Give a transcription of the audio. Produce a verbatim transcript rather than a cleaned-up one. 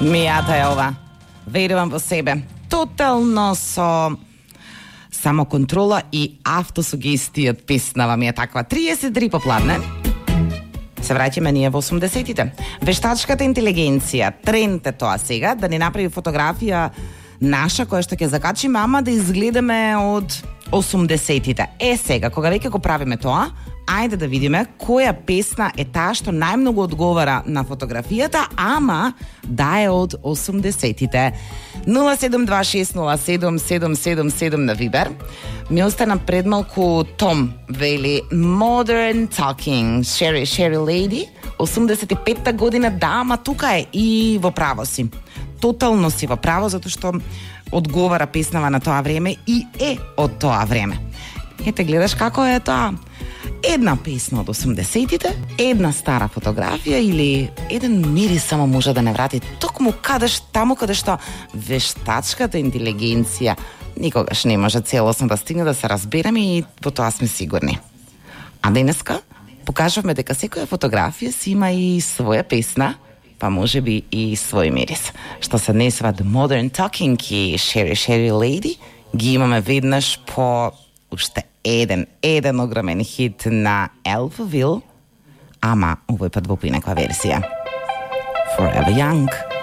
Мијата е ова. Верувам во себе. Тотално со самоконтрола и автосугестија песнава ми е таква. триесет и три попладне. Се враќаме ние во осумдесетите. Вештачката интелигенција, тренд е тоа сега, да ни направи фотографија наша која што ќе закачиме, ама да изгледаме од осумдесетите. Е сега, кога веќе го правиме тоа, ајде да видиме која песна е таа што најмногу одговара на фотографијата, ама да е од осумдесетите. нула седум два шест нула седум седум седум седум на Вибер. Ми остана предмалку Том, вели Modern Talking, Sherry Sherry Lady, осумдесет и петта година, да, ама тука е и во право си. Тотално си во право, затоа што одговара песнава на тоа време и е од тоа време. Ете, гледаш како е тоа. Една песна од осумдесетите, една стара фотографија или еден мирис само може да не врати токму кадеш таму каде што вештачката интелигенција никогаш не може целосно да стигне, да се разбереме и во тоа сме сигурни. А денеска покажавме дека секоја фотографија си има и своја песна, па може би и свој мирис. Што се однесува The Modern Talking и Sherry Sherry Lady, ги имаме веднаш по уште еден, еден огромен хит на Alphaville, ама овој пат во поинаква версија. Forever Young.